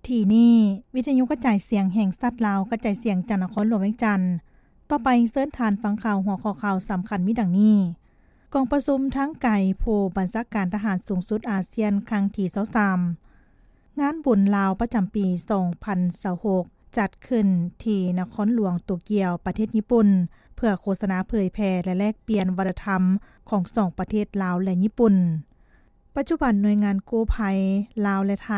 ທີ່ນີ້ ວິທະຍຸກະຈາຍສຽງແຫ່ງຊາດລາວ ກະຈາຍສຽງຈາກນະຄອນຫຼວງວຽງຈັນ. ຕໍ່ໄປເຊີນທ່ານຟັງຂ່າວ ຫົວຂໍ້ຂ່າວສຳຄັນມີດັ່ງນີ້: ກອງປະຊຸມທາງໄກຜູ້ບັນຊາການທະຫານສູງສຸດອາຊຽນ ຄັ້ງທີຊາວສາມ. ງານບຸນລາວປະຈຳປີສອງພັນຊາວຫົກ ຈັດຂຶ້ນທີ່ນະຄອນຫຼວງໂຕກຽວ ປະເທດຍີ່ປຸ່ນ ເພື່ອໂຄສະນາເຜີຍແຜ່ ແລະ ແລກປ່ຽນວັດທະນະທຳຂອງສອງປະເທດລາວ ແລະ ຍີ່ປຸ່ນ. ປັດຈຸບັນໜ່ວຍງານກູ້ໄພລາວ ແລະ ໄທ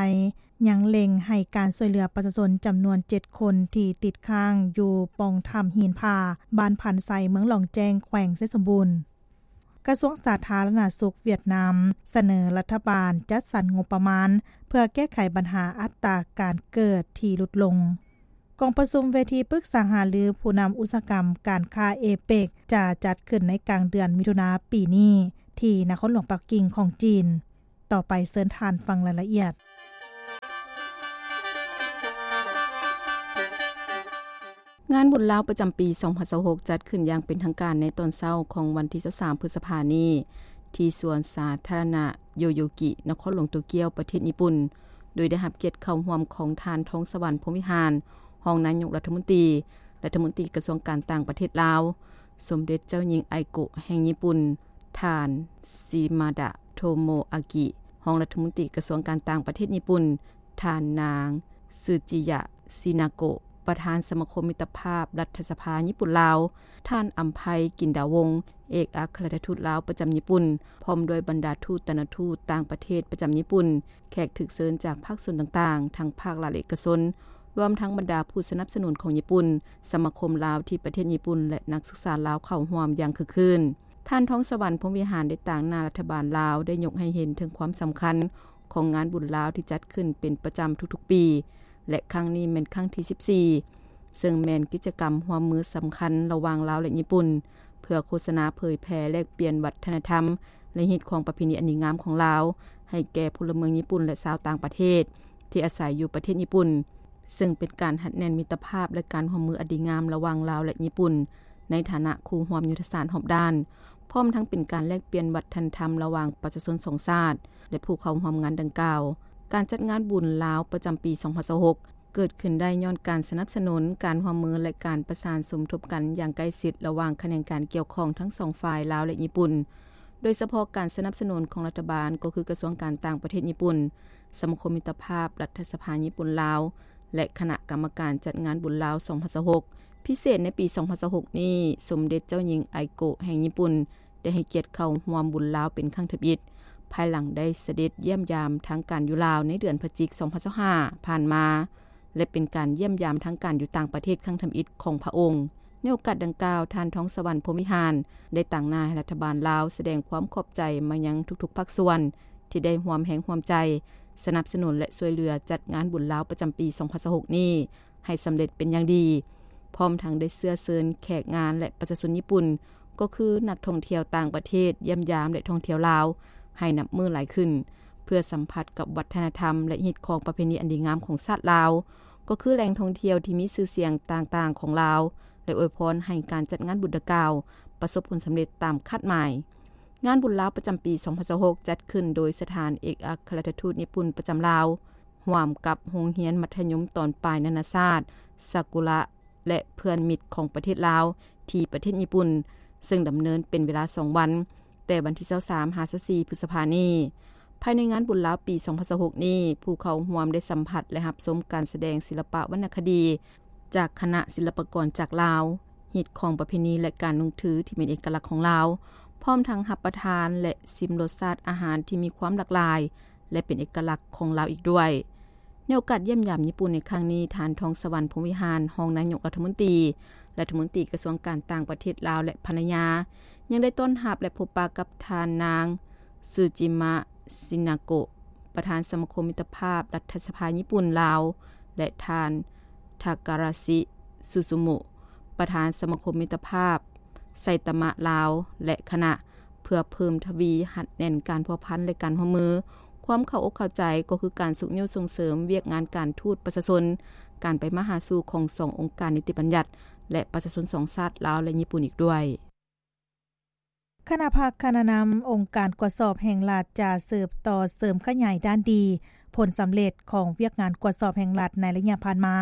ຍັງເລັ່ງໃຫ້ການຊ່ວຍເຫຼືອປະຊາຊົນຈຳນວນເຈັດຄົນທີ່ຕິດຄ້າງຢູ່ປ່ອງຖ້ຳຫີນຜາ ບ້ານພານໄຊ ເມືອງຫຼອງແຈ້ງ ແຂວງໄຊສົມບູນ. ກະຊວງສາທາລະນະສຸກຫວຽດນາມສະເໜີລັດຖະບານຈັດສັນງົບປະມານ ເພື່ອແກ້ໄຂບັນຫາອັດຕາການເກີດທີ່ຫຼຸດລົງ. ກອງປະຊຸມເວທີປຶກສາຫາລືຜູ້ນຳອຸດສາຫະກຳການຄ້າເອເປັກ ຈະຈັດຂຶ້ນໃນກາງເດືອນມິຖຸນາປີນີ້ ທີ່ນະຄອນຫຼວງປັກກິ່ງຂອງຈີນ. ຕໍ່ໄປເຊີນທ່ານຟັງລາຍລະອຽດ. ງານບຸນລາວປະຈຳປີສອງພັນຊາວຫົກ ຈັດຂຶ້ນຢ່າງເປັນທາງການໃນຕອນເຊົ້າຂອງວັນທີຊາວສາມ ພຶດສະພານີ້ ທີ່ສວນສາທາລະນະໂຍໂຍກິ ນະຄອນຫຼວງໂຕກຽວ ປະເທດຍີ່ປຸ່ນ, ໂດຍໄດ້ຮັບກຽດເຂົ້າຮ່ວມຂອງທ່ານ ທອງສະຫວັນ ພົມວິຫານ ຮອງນາຍົກລັດຖະມົນຕີ, ລັດຖະມົນຕີກະຊວງການຕ່າງປະເທດລາວ, ສົມເດັດເຈົ້າຍິງໄອໂກະແຫ່ງຍີ່ປຸ່ນ, ທ່ານ ຊີມາດະ ໂທໂມອາກິ ຮອງລັດຖະມົນຕີກະຊວງການຕ່າງປະເທດຍີ່ປຸ່ນ, ທ່ານນາງ ຊືຈິຍະ ຊີນາໂກະ ປະທານສະມາຄົມມິດຕະພາບລັດຖະສະພາຍີ່ປຸ່ນລາວ, ທ່ານ ອຳໄພ ກິນດາວົງ ເອກອັກຄະລັດຖະທູດລາວປະຈຳຍີ່ປຸ່ນ, ພ້ອມດ້ວຍບັນດາທູດຕານຸທູດຕ່າງປະເທດປະຈຳຍີ່ປຸ່ນ, ແຂກຖືກເຊີນຈາກພາກສ່ວນຕ່າງໆ ທັງພາກລັດ ແລະ ເອກະຊົນ, ລວມທັງບັນດາຜູ້ສະໜັບສະໜູນຂອງຍີ່ປຸ່ນ, ສະມາຄົມລາວທີ່ປະເທດຍີ່ປຸ່ນ ແລະ ນັກສຶກສາລາວເຂົ້າຮ່ວມຢ່າງຄຶກຄື້ນ. ທ່ານ ທອງສະຫວັນ ພົມວິຫານ ໄດ້ຕາງໜ້າລັດຖະບານລາວ ໄດ້ຍົກໃຫ້ເຫັນເຖິງຄວາມສຳຄັນຂອງງານບຸນລາວທີ່ຈັດຂຶ້ນເປັນປະຈຳທຸກໆປີ ແລະ ຄັ້ງນີ້ແມ່ນຄັ້ງທີສິບສີ່ ເຊິ່ງແມ່ນກິດຈະກຳຮ່ວມມືສຳຄັນລະຫວ່າງລາວ ແລະ ຍີ່ປຸ່ນ ເພື່ອໂຄສະນາເຜີຍແຜ່ແລກປ່ຽນວັດທະນະທຳ ແລະ ຮີດຄອງປະເພນີອັນດີງາມຂອງລາວ ໃຫ້ແກ່ພົນລະເມືອງຍີ່ປຸ່ນ ແລະ ຊາວຕ່າງປະເທດທີ່ອາໄສຢູ່ປະເທດຍີ່ປຸ່ນ, ເຊິ່ງເປັນການຮັດແໜ້ນມິດຕະພາບ ແລະ ການຮ່ວມມືອັນດີງາມລະຫວ່າງລາວ ແລະ ຍີ່ປຸ່ນ ໃນຖານະຄູ່ຮ່ວມຍຸດທະສາດຮອບດ້ານ, ພ້ອມທັງເປັນການແລກປ່ຽນວັດທະນະທຳລະຫວ່າງປະຊາຊົນສອງຊາດ ແລະ ຜູ້ເຂົ້າຮ່ວມງານດັ່ງກ່າວ. ການຈັດງານບຸນລາວປະຈຳປີສອງພັນຊາວຫົກ ເກີດຂຶ້ນໄດ້ຍ້ອນການສະໜັບສະໜູນ, ການຮ່ວມມື ແລະ ການປະສານສົມທົບກັນຢ່າງໃກ້ຊິດລະຫວ່າງຂະແໜງການກ່ຽວຂ້ອງທັງສອງຝ່າຍ ລາວ ແລະ ຍີ່ປຸ່ນ, ໂດຍສະເພາະການສະໜັບສະໜູນຂອງລັດຖະບານ ກໍຄືກະຊວງການຕ່າງປະເທດຍີ່ປຸ່ນ, ສະມາຄົມມິດຕະພາບລັດຖະສະພາຍີ່ປຸ່ນລາວ ແລະ ຄະນະກຳມະການຈັດງານບຸນລາວສອງພັນຊາວຫົກ. ພິເສດໃນປີສອງພັນຊາວຫົກນີ້, ສົມເດັດເຈົ້າຍິງໄອໂກະແຫ່ງຍີ່ປຸ່ນ ໄດ້ໃຫ້ກຽດເຂົ້າຮ່ວມບຸນລາວເປັນຄັ້ງທຳອິດ, ພາຍຫຼັງໄດ້ສະເດັດຢ້ຽມຢາມທາງການຢູ່ລາວໃນເດືອນພະຈິກສອງພັນຊາວຫ້າຜ່ານມາ ແລະ ເປັນການຢ້ຽມຢາມທາງການຢູ່ຕ່າງປະເທດຄັ້ງທຳອິດຂອງພະອົງ. ໃນໂອກາດດັ່ງກ່າວ, ທ່ານ ທອງສະຫວັນ ພົມວິຫານ ໄດ້ຕາງໜ້າໃຫ້ລັດຖະບານລາວສະແດງຄວາມຂອບໃຈມາຍັງທຸກໆພາກສ່ວນ ທີ່ໄດ້ຮ່ວມແຮງຮ່ວມໃຈ ສະໜັບສະໜູນ ແລະ ຊ່ວຍເຫຼືອຈັດງານບຸນລາວປະຈຳປີສອງພັນຊາວຫົກນີ້ ໃຫ້ສຳເລັດເປັນຢ່າງດີ, ພ້ອມທັງໄດ້ເຊື້ອເຊີນແຂກງານ ແລະ ປະຊາຊົນຍີ່ປຸ່ນ, ກໍຄືນັກທ່ອງທ່ຽວຕ່າງປະເທດຢ້ຽມຢາມ ແລະ ທ່ອງທ່ຽວລາວ ໃຫ້ນັບມື້ຫຼາຍຂຶ້ນ, ເພື່ອສຳຜັດກັບວັດທະນະທຳ ແລະ ຮີດຄອງປະເພນີອັນດີງາມຂອງຊາດລາວ, ກໍຄືແຫຼ່ງທ່ອງທ່ຽວທີ່ມີຊື່ສຽງຕ່າງໆຂອງລາວ, ແລະ ອວຍພອນໃຫ້ການຈັດງານບຸນດັ່ງກ່າວປະສົບຜົນສຳເລັດຕາມຄາດໝາຍ. ງານບຸນລາວປະຈຳປີສອງພັນຊາວຫົກ ຈັດຂຶ້ນໂດຍສະຖານເອກອັກຄະລັດຖະທູດຍີ່ປຸ່ນປະຈຳລາວ, ຮ່ວມກັບໂຮງຮຽນມັດທະຍົມຕອນປາຍນານາຊາດ ຊາກຸລະ ແລະ ເພື່ອນມິດຂອງປະເທດລາວ ທີ່ປະເທດຍີ່ປຸ່ນ, ເຊິ່ງດຳເນີນເປັນເວລາສອງວັນ, ແຕ່ວັນທີຊາວສາມ ຫາ ຊາວສີ່ ພຶດສະພານີ້. ພາຍໃນງານບຸນລາວປີສອງພັນຊາວຫົກນີ້, ຜູ້ເຂົ້າຮ່ວມໄດ້ສຳຜັດ ແລະ ຮັບຊົມການສະແດງສິລະປະວັນນະຄະດີ ຈາກຄະນະສິລະປະກອນຈາກລາວ, ຮີດຄອງປະເພນີ ແລະ ການນຸ່ງຖືທີ່ເປັນເອກະລັກຂອງລາວ, ພ້ອມທັງຮັບປະທານ ແລະ ຊິມລົດຊາດອາຫານທີ່ມີຄວາມຫຼາກຫຼາຍ ແລະ ເປັນເອກະລັກຂອງລາວອີກດ້ວຍ. ໃນໂອກາດຢ້ຽມຢາມຍີ່ປຸ່ນໃນຄັ້ງນີ້, ທ່ານ ທອງສະຫວັນ ພົມວິຫານ ຮອງນາຍົກລັດຖະມົນຕີ, ລັດຖະມົນຕີກະຊວງການຕ່າງປະເທດລາວ ແລະ ພັນລະຍາ ຍັງໄດ້ຕ້ອນຮັບ ແລະ ພົບປະກັບທ່ານນາງ ຊູຈິມະ ຊິນາໂກະ ປະທານສະມາຄົມມິດຕະພາບລັດຖະສະພາຍີ່ປຸ່ນລາວ ແລະ ທ່ານ ທາກາຣາຊິ ຊູຊູມຸ ປະທານສະມາຄົມມິດຕະພາບໄຊຕະມະລາວ ແລະ ຄະນະ ເພື່ອເພີ່ມທະວີຮັດແໜ້ນການພົວພັນ ແລະ ການຮ່ວມມື. ຄວາມເຂົ້າອົກເຂົ້າໃຈກໍຄືການຊຸກຍູ້ສົ່ງເສີມວຽກງານການທູດປະຊາຊົນ, ການໄປມາຫາສູ່ຂອງສອງອົງການນິຕິບັນຍັດ ແລະ ປະຊາຊົນສອງຊາດ ລາວ ແລະ ຍີ່ປຸ່ນ ອີກດ້ວຍ. ຄະນະພັກຄະນະນຳອົງການກວດສອບແຫ່ງລັດ ຈະສືບຕໍ່ເສີມຂະຫຍາຍດ້ານດີ, ເ ຜົນສຳເລັດຂອງວຽກງານກວດສອບແຫ່ງລັດໃນໄລຍະຜ່ານມາ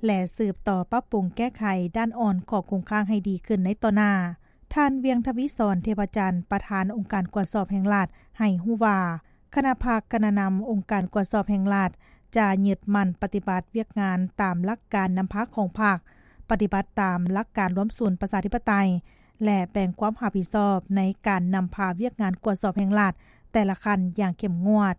ແລະ ສືບຕໍ່ປັບປຸງແກ້ໄຂດ້ານອ່ອນຂອງຄົງຄ້າງໃຫ້ດີຂຶ້ນໃນຕໍ່ໜ້າ. ທ່ານ ວຽງທະວີສອນ ເທພະຈັນ ປະທານອົງການກວດສອບແຫ່ງລັດ ໃຫ້ຮູ້ວ່າ ຄະນະພັກຄະນະນຳອົງການກວດສອບແຫ່ງລັດ ຈະຍຶດໝັ້ນປະຕິບັດວຽກງານຕາມຫຼັກການນຳພາຂອງພັກ, ປະຕິບັດຕາມຫຼັກການລວມສູນປະຊາທິປະໄຕ ແລະ ແບ່ງຄວາມຮັບຜິດຊອບໃນການນຳພາວຽກງານກວດສອບແຫ່ງລັດແຕ່ລະຂັ້ນຢ່າງເຂັ້ມງວດ,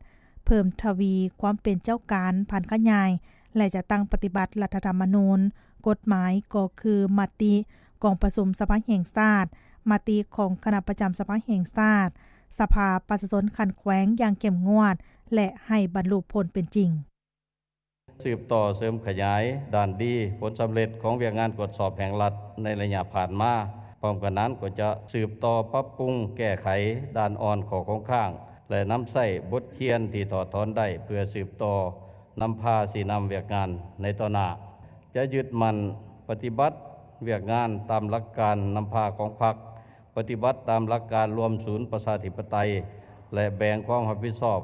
ເພີ່ມທະວີຄວາມເປັນເຈົ້າການ, ຜັນຂະຫຍາຍ ແລະ ຈັດຕັ້ງປະຕິບັດລັດຖະທຳມະນູນ, ກົດໝາຍ ກໍຄືມະຕິກອງປະຊຸມສະພາແຫ່ງຊາດ, ມະຕິຂອງຄະນະປະຈຳສະພາແຫ່ງຊາດ, ສະພາປະຊາຊົນຂັ້ນແຂວງຢ່າງເຂັ້ມງວດ ແລະ ໃຫ້ບັນລຸຜົນເປັນຈິງ. ສືບຕໍ່ເສີມຂະຫຍາຍດ້ານດີຜົນສຳເລັດຂອງວຽກງານກວດສອບແຫ່ງລັດໃນໄລຍະຜ່ານມາ. ພ້ອມກັນນັ້ນກໍຈະສືບຕໍ່ປັບປຸງແກ້ໄຂດ້ານອ່ອນຂໍ້ຄົງຄ້າງ ແລະ ນຳໃຊ້ບົດຮຽນທີ່ຖອດຖອນໄດ້ເພື່ອສືບຕໍ່ນຳພາຊີ້ນຳວຽກງານໃນຕໍ່ໜ້າ. ຈະຍຶດໝັ້ນປະຕິບັດວຽກງານຕາມຫຼັກການນຳພາຂອງພັກ, ປະຕິບັດຕາມຫຼັກການລວມສູນປະຊາທິປະໄຕ ແລະ ແບ່ງຄວາມຮັບຜິດຊອບ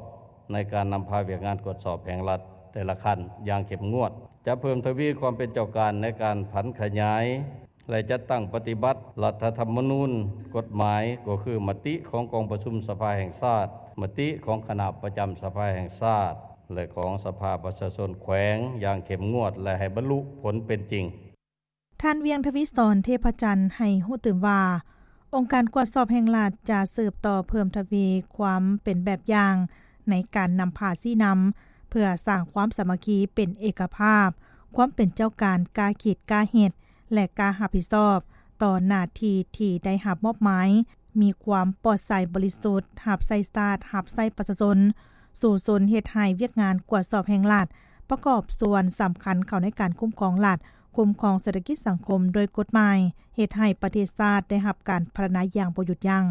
ໃນການນຳພາວຽກງານກວດສອບແຫ່ງລັດແຕ່ລະຂັ້ນຢ່າງເຂັ້ມງວດ. ຈະເພີ່ມທະວີຄວາມເປັນເຈົ້າການໃນການຜັນຂະຫຍາຍ ແລະ ຈັດຕັ້ງປະຕິບັດລັດຖະທຳມະນູນ, ກົດໝາຍ ກໍຄືມະຕິຂອງກອງປະຊຸມສະພາແຫ່ງຊາດ, ມະຕິຂອງຄະນະປະຈຳສະພາແຫ່ງຊາດ ແລະ ຂອງສະພາປະຊາຊົນແຂວງຢ່າງເຂັ້ມງວດ ແລະ ໃຫ້ບັນລຸຜົນເປັນຈິງ. ທ່ານ ວຽງທະວີສອນ ເທພະຈັນ ໃຫ້ຮູ້ຕື່ມວ່າ ອົງການກວດສອບແຫ່ງລັດຈະສືບຕໍ່ເພີ່ມທະວີຄວາມເປັນແບບຢ່າງໃນການນຳພາຊີ້ນຳ ເພື່ອສ້າງຄວາມສາມັກຄີເປັນເອກະພາບ, ຄວາມເປັນເຈົ້າການກ້າຄິດກ້າເຮັດ ແລະ ກ້າຮັບຜິດຊອບຕໍ່ໜ້າທີ່ທີ່ໄດ້ຮັບມອບໝາຍ, ມີຄວາມປອດໃສບໍລິສຸດ, ຮັບໃຊ້ຊາດ, ຮັບໃຊ້ປະຊາຊົນ, ສູ້ຊົນເຮັດໃຫ້ວຽກງານກວດສອບແຫ່ງລັດ ປະກອບສ່ວນສຳຄັນເຂົ້າໃນການຄຸ້ມຄອງລັດ, ຄຸ້ມຄອງເສດຖະກິດສັງຄົມໂດຍກົດໝາຍ, ເຮັດໃຫ້ປະເທດຊາດໄດ້ຮັບການພັດທະນາຢ່າງບໍ່ຢຸດຢັ້ງ.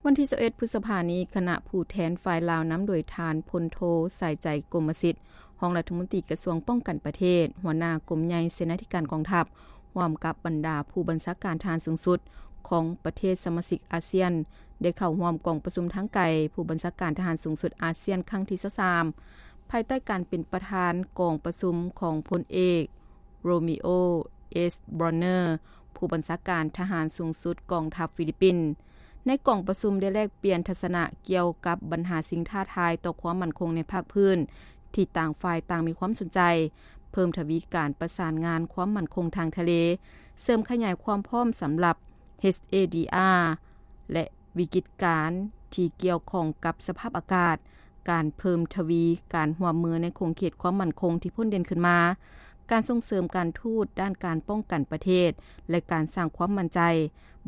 ວັນທີຊາວເອັດ ພຶດສະພານີ້, ຄະນະຜູ້ແທນຝ່າຍລາວນຳໂດຍທ່ານ ພົນໂທ ສາຍໃຈ ກົມມະສິດ, ຮອງລັດຖະມົນຕີກະຊວງປ້ອງກັນປະເທດ, ຫົວໜ້າກົມໃຫຍ່ເສນາທິການກອງທັບ, ຮ່ວມກັບບັນດາຜູ້ບັນຊາການທະຫານສູງສຸດຂອງປະເທດສະມາຊິກອາຊຽນ ໄດ້ເຂົ້າຮ່ວມກອງປະຊຸມທາງໄກຜູ້ບັນຊາການທະຫານສູງສຸດອາຊຽນຄັ້ງທີຊາວສາມ ພາຍໃຕ້ການເປັນປະທານກອງປະຊຸມຂອງພົນເອກ ໂຣມິໂອ ເອສ ບຣອນເນີ ຜູ້ບັນຊາການທະຫານສູງສຸດກອງທັບຟີລິບປິນ. ໃນກອງປະຊຸມໄດ້ແລກປ່ຽນທັດສະນະກ່ຽວກັບບັນຫາສິ່ງທ້າທາຍຕໍ່ຄວາມໝັ້ນຄົງໃນພາກພື້ນ ທີ່ຕ່າງຝ່າຍຕ່າງມີຄວາມສົນໃຈ, ເພີ່ມທະວີການປະສານງານຄວາມໝັ້ນຄົງທາງທະເລ, ເສີມຂະຫຍາຍຄວາມພ້ອມສຳລັບ ເອສ ເອ ດີ ອາ ແລະ ວິກິດການທີ່ກ່ຽວຂ້ອງກັບສະພາບອາກາດ, ການເພີ່ມທະວີການຮ່ວມມືໃນຂົງເຂດຄວາມໝັ້ນຄົງທີ່ພົ້ນເດັ່ນຂຶ້ນມາ, ການສົ່ງເສີມການທູດດ້ານການປ້ອງກັນປະເທດ ແລະ ການສ້າງຄວາມໝັ້ນໃຈ,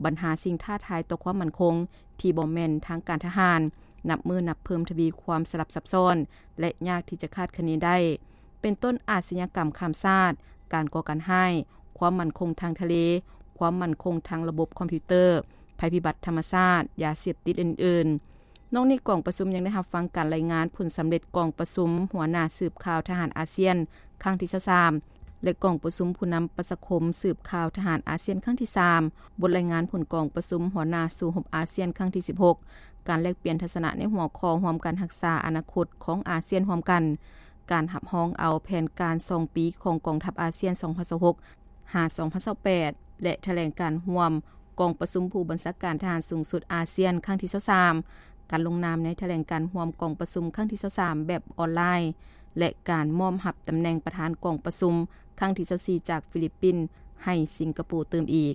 ບັນຫາສິ່ງທ້າທາຍຕໍ່ຄວາມໝັ້ນຄົງທີ່ບໍ່ແມ່ນທາງການທະຫານ, ນັບມື້ນັບເພີ່ມທະວີຄວາມສະຫຼັບຊັບຊ້ອນ ແລະ ຍາກທີ່ຈະຄາດຄະເນໄດ້, ເປັນຕົ້ນອາຊະຍາກຳຂ້າມຊາດ, ການກໍ່ການຮ້າຍ, ຄວາມໝັ້ນຄົງທາງທະເລ, ຄວາມໝັ້ນຄົງທາງລະບົບຄອມພິວເຕີ, ໄພພິບັດທຳມະຊາດ, ຢາເສບຕິດ ແລະ ອື່ນໆ. ນອກນີ້, ກອງປະຊຸມຍັງໄດ້ຮັບຟັງການລາຍງານຜົນສຳເລັດກອງປະຊຸມຫົວໜ້າສືບຂ່າວທະຫານອາຊຽນຄັ້ງທີຊາວສາມ ແລະ ກອງປະຊຸມຜູ້ນຳປະຊາຄົມສືບຂ່າວທະຫານອາຊຽນຄັ້ງທີສາມ, ບົດລາຍງານຜົນກອງປະຊຸມຫົວໜ້າສູ້ຮົບອາຊຽນຄັ້ງທີສິບຫົກ, ການແລກປ່ຽນທັດສະນະໃນຫົວຂໍ້ຮ່ວມກັນຮັກສາອະນາຄົດຂອງອາຊຽນຮ່ວມກັນ, ການຮັບຮອງເອົາແຜນການສອງປີຂອງກອງທັບອາຊຽນສອງພັນຊາວຫົກ ຫາ ສອງພັນຊາວແປດ ແລະ ຖະແຫຼງການຮ່ວມກອງປະຊຸມຜູ້ບັນຊາການທະຫານສູງສຸດອາຊຽນຄັ້ງທີຊາວສາມ, ການລົງນາມໃນຖະແຫຼງການຮ່ວມກອງປະຊຸມຄັ້ງທີຊາວສາມແບບອອນລາຍ ແລະ ການມອບຮັບຕຳແໜ່ງປະທານກອງປະຊຸມຄັ້ງທີຊາວສີ່ຈາກຟີລິບປິນໃຫ້ສິງກະໂປຕື່ມອີກ.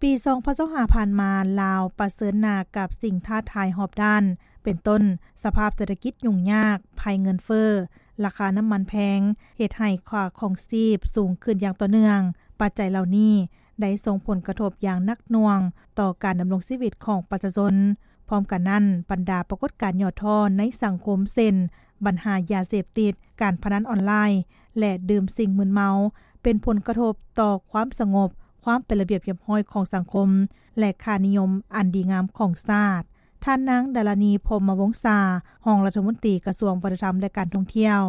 ປີສອງພັນຊາວຫ້າຜ່ານມາ, ລາວປະເຊີນໜ້າກັບສິ່ງທ້າທາຍຮອບດ້ານ, ເປັນຕົ້ນ ສະພາບເສດຖະກິດຫຍຸ້ງຍາກ, ໄພເງິນເຟີ້, ລາຄານ້ຳມັນແພງ, ເຮັດໃຫ້ຄ່າຄອງຊີບສູງຂຶ້ນຢ່າງຕໍ່ເນື່ອງ. ປັດໄຈເຫຼົ່ານີ້ໄດ້ສົ່ງຜົນກະທົບຢ່າງໜັກໜ່ວງຕໍ່ການດຳລົງຊີວິດຂອງປະຊາຊົນ. ພ້ອມກັນນັ້ນ, ບັນດາປາກົດການຫຍໍ້ທໍ້ໃນສັງຄົມ ເຊັ່ນ ບັນຫາຢາເສບຕິດ, ການພະນັນອອນລາຍ ແລະ ດື່ມສິ່ງມຶນເມົາ ເປັນຜົນກະທົບຕໍ່ຄວາມສະຫງົບ, ຄວາມເປັນລະບຽບຮຽບຮ້ອຍຂອງສັງຄົມ ແລະ ຄ່ານິຍົມອັນດີງາມຂອງຊາດ. ທ່ານນາງ ດາລານີ ພົມມະວົງສາ, ຮອງລັດຖະມົນຕີກະຊວງວັດທະນະທຳ ແລະ ການທ່ອງທ່ຽວ,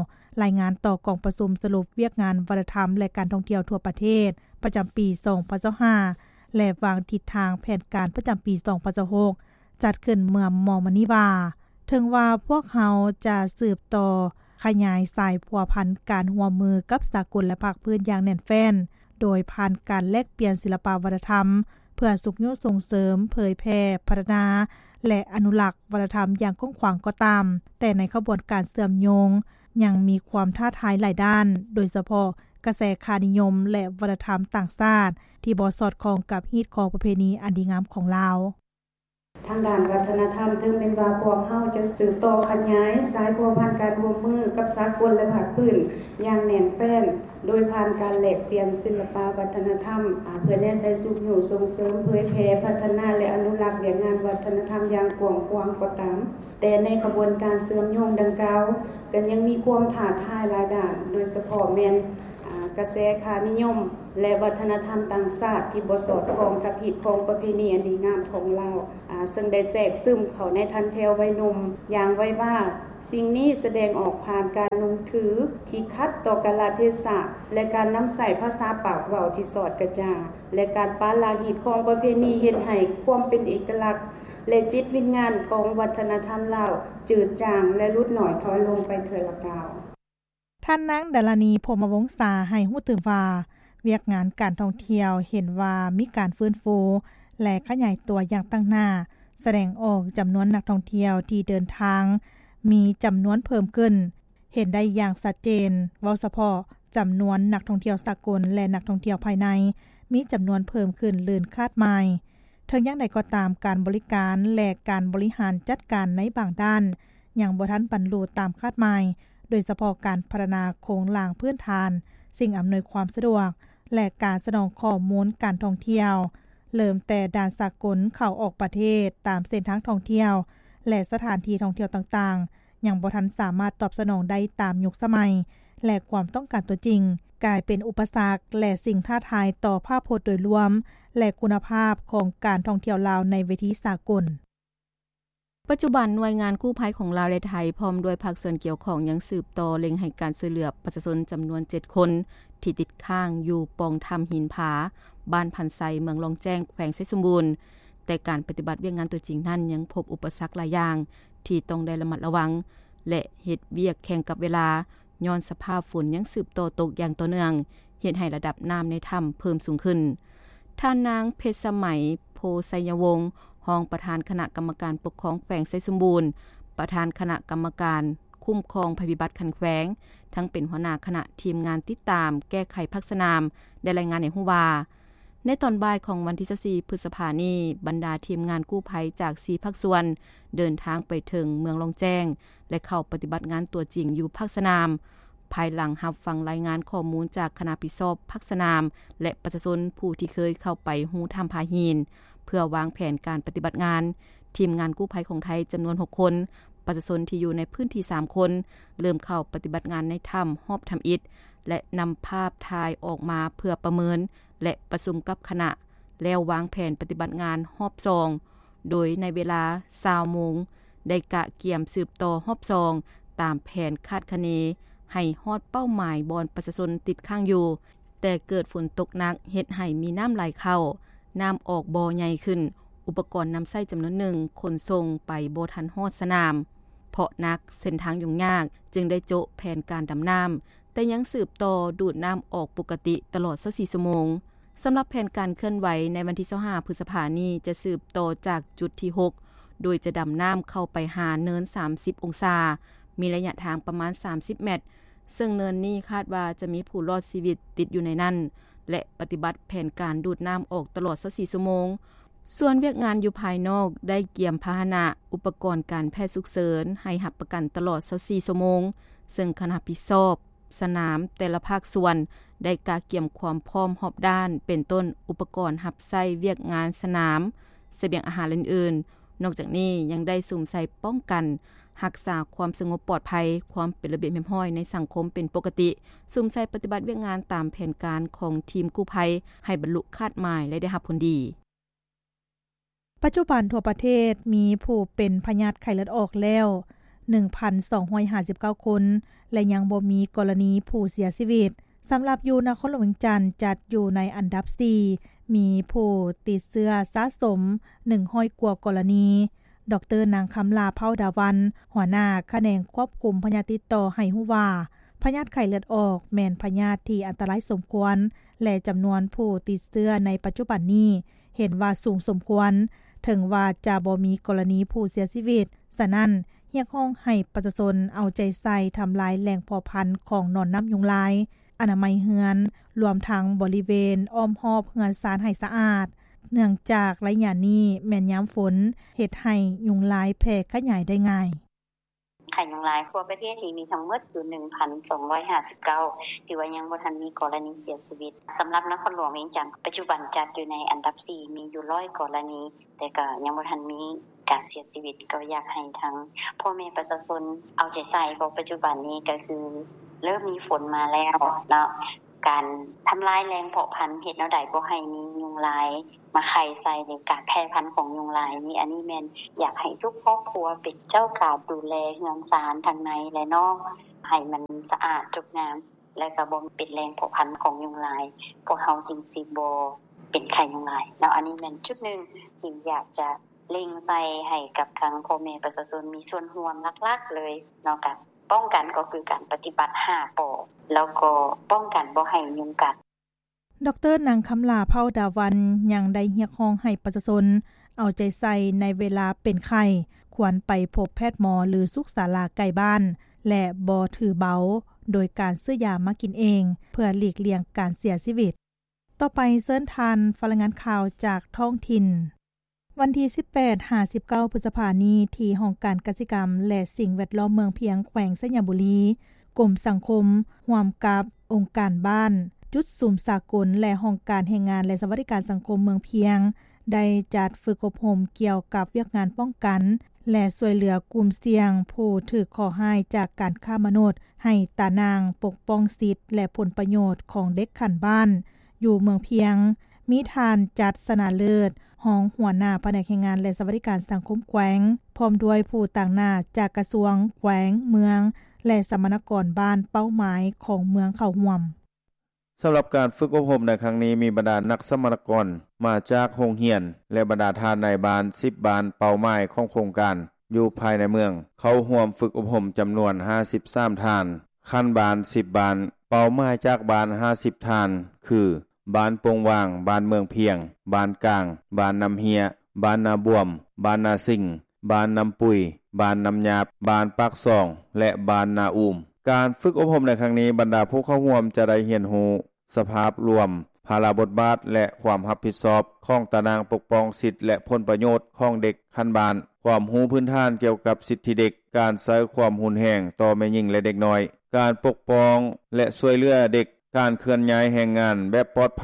ລາຍງານຕໍ່ກອງປະຊຸມສະຫຼຸບວຽກງານວັດທະນະທຳ ແລະ ການທ່ອງທ່ຽວທົ່ວປະເທດ ປະຈຳປີສອງພັນຊາວຫ້າ ແລະ ວາງທິດທາງແຜນການປະຈຳປີສອງພັນຊາວຫົກ ຈັດຂຶ້ນເມື່ອມໍ່ໆມານີ້ວ່າ, ເຖິງວ່າພວກເຮົາຈະສືບຕໍ່ຂະຫຍາຍສາຍພົວພັນການຮ່ວມມືກັບສາກົນ ແລະ ພາກພື້ນຢ່າງແໜ້ນແຟ້ນ ໂດຍຜ່ານການແລກປ່ຽນສິລະປະວັດທະທຳ ເພື່ອຊຸກຍູ້ສົ່ງເສີມ, ເຜີຍແຜ່, ພັດທະນາ ແລະ ອະນຸລັກວັດທະນະທຳຢ່າງກວ້າງຂວາງກໍຕາມ, ແຕ່ໃນຂະບວນການເຊື່ອມໂຍງຍັງມີຄວາມທ້າທາຍຫຼາຍດ້ານ, ໂດຍສະເພາະກະແສຄ່ານິຍົມ ແລະ ວັດທະນະທຳຕ່າງຊາດທີ່ບໍ່ສອດຄ່ອງກັບຮີດຄອງປະເພນີອັນດີງາມຂອງລາວ. ທາງດ້ານວັດທະນະທຳ, ເຖິງແມ່ນວ່າພວກເຮົາຈະສືບຕໍ່ຂະຫຍາຍສາຍພົວພັນການຮ່ວມມືກັບສາກົນ ແລະ ພາກພື້ນຢ່າງແໜ້ນແຟ້ນ ໂດຍຜ່ານການແລກປ່ຽນສິລະປະວັດທະນະທຳ ອາ ເພື່ອແນໃສ່ຊຸກຍູ້ສົ່ງເສີມ, ເຜີຍແຜ່, ພັດທະນາ ແລະ ອະນຸລັກວຽກງານວັດທະນະທຳຢ່າງກວ້າງຂວາງກໍຕາມ, ແຕ່ໃນຂະບວນການເຊື່ອມໂຍງດັ່ງກ່າວ ກໍຍັງມີຄວາມທ້າທາຍຫຼາຍດ້ານ, ໂດຍສະເພາະແມ່ນ ອາ ກະແສຄ່ານິຍົມ ແລະ ວັດທະນະທຳຕ່າງຊາດທີ່ບໍ່ສອດຄ່ອງກັບຮີດຄອງປະເພນີອັນດີງາມຂອງລາວ, ອາ ເຊິ່ງໄດ້ແຊກຊຶມເຂົ້າໃນຖັນແຖວໄວໜຸ່ມຢ່າງໄວວາ. ສິ່ງນີ້ສະແດງອອກຜ່ານການນຸ່ງຖືທີ່ຂັດຕໍ່ກາລະເທສະ ແລະ ການນຳໃຊ້ພາສາປາກເວົ້າທີ່ສອດກະຈາ ແລະ ການປະລະຮີດຄອງປະເພນີ ເຮັດໃຫ້ຄວາມເປັນເອກະລັກ ແລະ ຈິດວິນຍານຂອງວັດທະນະທຳລາວຈືດຈາງ ແລະ ຫຼຸດໜ້ອຍຖອຍລົງໄປເທື່ອລະກ້າວ. ທ່ານນາງ ດາລານີ ພົມມະວົງສາ ໃຫ້ຮູ້ຕື່ມວ່າ ວຽກງານການທ່ອງທ່ຽວເຫັນວ່າມີການຟື້ນຟູ ແລະ ຂະຫຍາຍຕົວຢ່າງຕັ້ງໜ້າ, ສະແດງອອກຈຳນວນນັກທ່ອງທ່ຽວທີ່ເດີນທາງມີຈຳນວນເພີ່ມຂຶ້ນ ເຫັນໄດ້ຢ່າງຊັດເຈນ. ເວົ້າສະເພາະຈຳນວນນັກທ່ອງທ່ຽວສາກົນ ແລະ ນັກທ່ອງທ່ຽວພາຍໃນ ມີຈຳນວນເພີ່ມຂຶ້ນເກີນຄາດໝາຍ. ເຖິງຢ່າງໃດກໍຕາມ, ການບໍລິການ ແລະ ການບໍລິຫານຈັດການໃນບາງດ້ານ ຍັງບໍ່ທັນບັນລຸຕາມຄາດໝາຍ, ໂດຍສະເພາະການພັດທະນາໂຄງລ່າງພື້ນຖານ, ສິ່ງອຳນວຍຄວາມສະດວກ ແລະ ການສະໜອງຂໍ້ມູນການທ່ອງທ່ຽວ, ເລີ່ມແຕ່ດ່ານສາກົນເຂົ້າອອກປະເທດ, ຕາມເສັ້ນທາງທ່ອງທ່ຽວ ແລະ ສະຖານທີ່ທ່ອງທ່ຽວຕ່າງໆ ຍັງບໍ່ທັນສາມາດຕອບສະໜອງໄດ້ຕາມຍຸກສະໄໝ ແລະ ຄວາມຕ້ອງການຕົວຈິງ, ກາຍເປັນອຸປະສັກ ແລະ ສິ່ງທ້າທາຍຕໍ່ພາບພົດໂດຍລວມ ແລະ ຄຸນນະພາບຂອງການທ່ອງທ່ຽວລາວໃນເວທີສາກົນ. ປັດຈຸບັນ, ໜ່ວຍງານກູ້ໄພຂອງລາວ ແລະ ໄທ ພ້ອມດ້ວຍພາກສ່ວນກ່ຽວຂ້ອງ ຍັງສືບຕໍ່ເລັ່ງໃຫ້ການຊ່ວຍເຫຼືອປະຊາຊົນຈຳນວນເຈັດຄົນ ທີ່ຕິດຄ້າງຢູ່ປ່ອງຖ້ຳຫີນຜາ, ບ້ານພັນໄຊ, ເມືອງລ່ອງແຈ້ງ, ແຂວງໄຊສົມບູນ, ແຕ່ການປະຕິບັດວຽກງານຕົວຈິງນັ້ນ ຍັງພົບອຸປະສັກຫຼາຍຢ່າງທີ່ຕ້ອງໄດ້ລະມັດລະວັງ ແລະ ເຮັດວຽກແຂ່ງກັບເວລາ ຍ້ອນສະພາບຝົນຍັງສືບຕໍ່ຕົກຢ່າງຕໍ່ເນື່ອງ, ເຮັດໃຫ້ລະດັບນ້ຳໃນຖ້ຳເພີ່ມສູງຂຶ້ນ. ທ່ານນາງ ເພັດສະໄໝ ໂພໄຊຍະວົງ, ຮອງປະທານຄະນະກຳມະການປົກຄອງແຂວງໄຊສົມບູນ, ປະທານຄະນະກຳມະການຄຸ້ມຄອງໄພພິບັດຂັ້ນແຂວງ, ທັງເປັນຫົວໜ້າຄະນະທີມງານຕິດຕາມແກ້ໄຂພາກສະໜາມ ໄດ້ລາຍງານໃຫ້ຮູ້ວ່າ, ໃນຕອນບ່າຍຂອງວັນທີຊາວສີ່ ພຶດສະພານີ້, ບັນດາທີມງານກູ້ໄພຈາກສີ່ພາກສ່ວນ ເດີນທາງໄປເຖິງເມືອງລ່ອງແຈ້ງ ແລະ ເຂົ້າປະຕິບັດງານຕົວຈິງຢູ່ພາກສະໜາມ, ພາຍຫຼັງຮັບຟັງລາຍງານຂໍ້ມູນຈາກຄະນະຜິດຊອບພາກສະໜາມ ແລະ ປະຊາຊົນຜູ້ທີ່ເຄີຍເຂົ້າໄປຮູຖ້ຳຜາຫີນ ເພື່ອວາງແຜນການປະຕິບັດງານ. ທີມງານກູ້ໄພຂອງໄທຈຳນວນຫົກຄົນ, ປະຊາຊົນທີ່ຢູ່ໃນພື້ນທີ່ສາມຄົນ ເລີ່ມເຂົ້າປະຕິບັດງານໃນຖ້ຳຮອບທຳອິດ ແລະ ນຳພາບຖ່າຍອອກມາເພື່ອປະເມີນ ແລະ ປະຊຸມກັບຄະນະ ແລ້ວວາງແຜນປະຕິບັດງານຮອບສອງ ໂດຍໃນເວລາຊາວໂມງ ໄດ້ກະກຽມສືບຕໍ່ຮອບສອງ ຕາມແຜນຄາດຄະເນ ໃຫ້ຮອດເປົ້າໝາຍບ່ອນປະຊາຊົນຕິດຄ້າງຢູ່, ແຕ່ເກີດຝົນຕົກໜັກເຮັດໃຫ້ມີນ້ຳໄຫຼເຂົ້າ, ນ້ຳອອກບໍ່ໃຫຍ່ຂຶ້ນ, ອຸປະກອນນຳໃຊ້ຈຳນວນໜຶ່ງຂົນສົ່ງໄປບໍ່ທັນຮອດສະໜາມ ເພາະໜັກ, ເສັ້ນທາງຫຍຸ້ງຍາກ, ຈຶ່ງໄດ້ໂຈະແຜນການດຳນ້ຳ, ແຕ່ຍັງສືບຕໍ່ດູດນ້ຳອອກປົກກະຕິຕະຫຼອດຊາວສີ່ຊົ່ວໂມງ. ສຳລັບແຜນການເຄື່ອນໄຫວໃນວັນທີຊາວຫ້າ ພຶດສະພານີ້ ຈະສືບຕໍ່ຈາກຈຸດທີຫົກ ໂດຍຈະດຳນ້ຳເຂົ້າໄປຫາເນີນສາມສິບອົງສາ, ມີໄລຍະທາງປະມານສາມສິບແມັດ, ເຊິ່ງເນີນນີ້ຄາດວ່າຈະມີຜູ້ລອດຊີວິດຕິດຢູ່ໃນນັ້ນ ແລະ ປະຕິບັດແຜນການດູດນ້ຳອອກຕະຫຼອດຊາວສີ່ຊົ່ວໂມງ. ສ່ວນວຽກງານຢູ່ພາຍນອກໄດ້ກຽມພາຫະນະ, ອຸປະກອນການແພດສຸກເສີນໃຫ້ຮັບປະກັນຕະຫຼອດຊາວສີ່ຊົ່ວໂມງ, ເຊິ່ງຄະນະຮັບຜິດຊອບ ສະໜາມແຕ່ລະພາກສ່ວນໄດ້ກະກຽມຄວາມພ້ອມຮອບດ້ານ ເປັນຕົ້ນ ອຸປະກອນຮັບໃຊ້ວຽກງານສະໜາມ, ສະບຽງອາຫານ ແລະ ອື່ນໆ. ນອກຈາກນີ້ຍັງໄດ້ສຸມໃສ່ປ້ອງກັນ, ຮັກສາຄວາມສະຫງົບປອດໄພ, ຄວາມເປັນລະບຽບຮຽບຮ້ອຍໃນສັງຄົມເປັນປົກກະຕິ, ສຸມໃສ່ປະຕິບັດວຽກງານຕາມແຜນການຂອງທີມກູ້ໄພໃຫ້ບັນລຸຄາດໝາຍ ແລະ ໄດ້ຮັບຜົນດີ. ປັດຈຸບັນທົ່ວປະເທດມີຜູ້ເປັນພະຍາດໄຂ້ເລືອດອອກແລ້ວ ໜຶ່ງພັນສອງຮ້ອຍຫ້າສິບເກົ້າຄົນ ແລະ ຍັງບໍ່ມີກໍລະນີຜູ້ເສຍຊີວິດ. ສຳລັບຢູ່ນະຄອນຫຼວງວຽງຈັນ ຈັດຢູ່ໃນອັນດັບສີ່ ມີຜູ້ຕິດເຊື້ອສະສົມໜຶ່ງຮ້ອຍກວ່າກໍລະນີ, ດຣ. ນາງ ຄຳຫຼ້າ ເຜົ່າດາວັນ ຫົວໜ້າຂະແໜງຄວບຄຸມພະຍາດຕິດຕໍ່ ໃຫ້ຮູ້ວ່າ ພະຍາດໄຂ້ເລືອດອອກແມ່ນພະຍາດທີ່ອັນຕະລາຍສົມຄວນ ແລະ ຈຳນວນຜູ້ຕິດເຊື້ອໃນປັດຈຸບັນນີ້ ເຫັນວ່າສູງສົມຄວນ, ເຖິງວ່າຈະບໍ່ມີກໍລະນີຜູ້ເສຍຊີວິດ. ສະນັ້ນ, ຮຽກຮ້ອງໃຫ້ປະຊາຊົນເອົາໃຈໃສ່ທຳລາຍແຫຼ່ງເພາະພັນຂອງໜອນນ້ຳຍຸງລາຍ, ອະນາໄມເຮືອນ, ລວມທັງບໍລິເວນອ້ອມຮອບເຮືອນຊານໃຫ້ສະອາດ, ເນື່ອງຈາກໄລຍະນີ້ແມ່ນຍາມຝົນ, ເຮັດໃຫ້ຍຸງລາຍແຜ່ຂະຫຍາຍໄດ້ງ່າຍ. ໄຂ້ຍຸງລາຍທົ່ວປະເທດນີ້ມີທັງໝົດຢູ່ ໜຶ່ງພັນສອງຮ້ອຍຫ້າສິບເກົ້າ ຖືວ່າຍັງບໍ່ທັນມີກໍລະນີເສຍຊີວິດ. ສຳລັບນະຄອນຫຼວງວຽງຈັນ ປັດຈຸບັນຈັດຢູ່ໃນອັນດັບສີ່ ມີຢູ່ຮ້ອຍກໍລະນີ, ແຕ່ກໍຍັງບໍ່ທັນມີການເສຍຊີວິດ. ກໍຢາກໃຫ້ທາງພໍ່ແມ່ປະຊາຊົນເອົາໃຈໃສ່, ເພາະປັດຈຸບັນນີ້ກໍຄືເລີ່ມມີຝົນມາແລ້ວເນາະ, ການທຳລາຍແຫຼ່ງເພາະພັນ ເຮັດແນວໃດບໍ່ໃຫ້ມີຍຸງລາຍມາໄຂ່ໃສ່ ຫຼື ການແຜ່ພັນຂອງຍຸງລາຍນີ້, ອັນນີ້ແມ່ນຢາກໃຫ້ທຸກຄອບຄົວເປັນເຈົ້າການດູແລເຮືອນຊານທັງໃນ ແລະ ນອກ ໃຫ້ມັນສະອາດຈົບງາມ ແລະ ກໍບໍ່ເປັນແຫຼ່ງເພາະພັນຂອງຍຸງລາຍ, ພວກເຮົາຈຶ່ງຊິບໍ່ເປັນໄຂ້ຍຸງລາຍເນາະ. ອັນນີ້ແມ່ນຈຸດໜຶ່ງທີ່ຢາກຈະເລັ່ງໃສ່ໃຫ້ກັບທາງພໍ່ແມ່ປະຊາຊົນມີສ່ວນຮ່ວມຫຼັກໆເລີຍເນາະ, ການປ້ອງກັນກໍຄືການປະຕິບັດຫ້າ ປ ແລ້ວກໍປ້ອງກັນບໍ່ໃຫ້ຍຸງກັດ. ດຣ. ນາງ ຄຳຫຼ້າ ເຜົ່າດາວັນ ຍັງໄດ້ຮຽກຮ້ອງໃຫ້ປະຊາຊົນເອົາໃຈໃສ່ໃນເວລາເປັນໄຂ້, ຄວນໄປພົບແພດໝໍ ຫຼື ສຸກສາລາໃກ້ບ້ານ ແລະ ບໍ່ຖືເບົາ ໂດຍການຊື້ຢາມາກິນເອງ ເພື່ອຫຼີກລ່ຽງການເສຍຊີວິດ. ຕໍ່ໄປເຊີນທ່ານຟັງລາຍງານຂ່າວຈາກທ້ອງຖິ່ນ. ວັນທີສິບແປດຫາສິບເກົ້າ ພຶດສະພານີ້ ທີ່ຫ້ອງການກະສິກຳ ແລະ ສິ່ງແວດລ້ອມເມືອງພຽງ ແຂວງໄຊຍະບູລີ, ກົມສັງຄົມ ຮ່ວມກັບອົງການບ້ານ, ຈຸດສຸມສາກົນ ແລະ ຫ້ອງການແຮງງານ ແລະ ສະຫວັດດີການສັງຄົມເມືອງພຽງ ໄດ້ຈັດຝຶກອົບຮົມກ່ຽວກັບວຽກງານປ້ອງກັນ ແລະ ຊ່ວຍເຫຼືອກຸ່ມສ່ຽງຜູ້ຖືກເຄາະຮ້າຍຈາກການຄ້າມະນຸດ ໃຫ້ຕາໜ່າງປົກປ້ອງສິດ ແລະ ຜົນປະໂຫຍດຂອງເດັກຂັ້ນບ້ານ ຢູ່ເມືອງພຽງ, ມີທ່ານ ຈັດ ຊະນະເລີດ ຮອງຫົວໜ້າພະແນກແຮງງານ ແລະ ສະຫວັດດີການສັງຄົມແຂວງ, ພ້ອມດ້ວຍຜູ້ຕາງໜ້າຈາກກະຊວງ, ແຂວງ, ເມືອງ ແລະ ສຳມະນາກອນບ້ານເປົ້າໝາຍຂອງເມືອງເຂົ້າຮ່ວມ. ສຳລັບການຝຶກອົບຮົມໃນຄັ້ງນີ້ ມີບັນດານັກສຳມະນາກອນມາຈາກໂຮງຮຽນ ແລະ ບັນດາທ່ານນາຍບ້ານສິບບ້ານເປົ້າໝາຍຂອງໂຄງການຢູ່ພາຍໃນເມືອງ ເຂົ້າຮ່ວມຝຶກອົບຮົມຈຳນວນຫ້າສິບສາມທ່ານ, ຂັ້ນບ້ານສິບບ້ານ, ເປົ້າໝາຍຈາກບ້ານຫ້າສິບທ່ານ ຄື ບ້ານໂປ່ງຫວ່າງ, ບ້ານເມືອງພຽງ, ບ້ານກາງ, ບ້ານນ້ຳເຮຍ, ບ້ານນາບວມ, ບ້ານນາສິງ, ບ້ານນ້ຳປຸຍ, ບ້ານນ້ຳຫຍາບ, ບ້ານປາກຊ່ອງ ແລະ ບ້ານນາອູມ. ການຝຶກອົບຮົມໃນຄັ້ງນີ້, ບັນດາຜູ້ເຂົ້າຮ່ວມຈະໄດ້ຮຽນຮູ້ສະພາບລວມ, ພາລະບົດບາດ ແລະ ຄວາມຮັບຜິດຊອບຂອງຕາໜ່າງປົກປ້ອງສິດ ແລະ ຜົນປະໂຫຍດຂອງເດັກຂັ້ນບ້ານ, ຄວາມຮູ້ພື້ນຖານກ່ຽວກັບສິດທິເດັກ, ການໃຊ້ຄວາມຮຸນແຮງຕໍ່ແມ່ຍິງ ແລະ ເດັກນ້ອຍ, ການປົກປ້ອງ ແລະ ຊ່ວຍເຫຼືອເດັກ, ການເຄື່ອນຍ້າຍແຮງງານແບບປອດໄພ,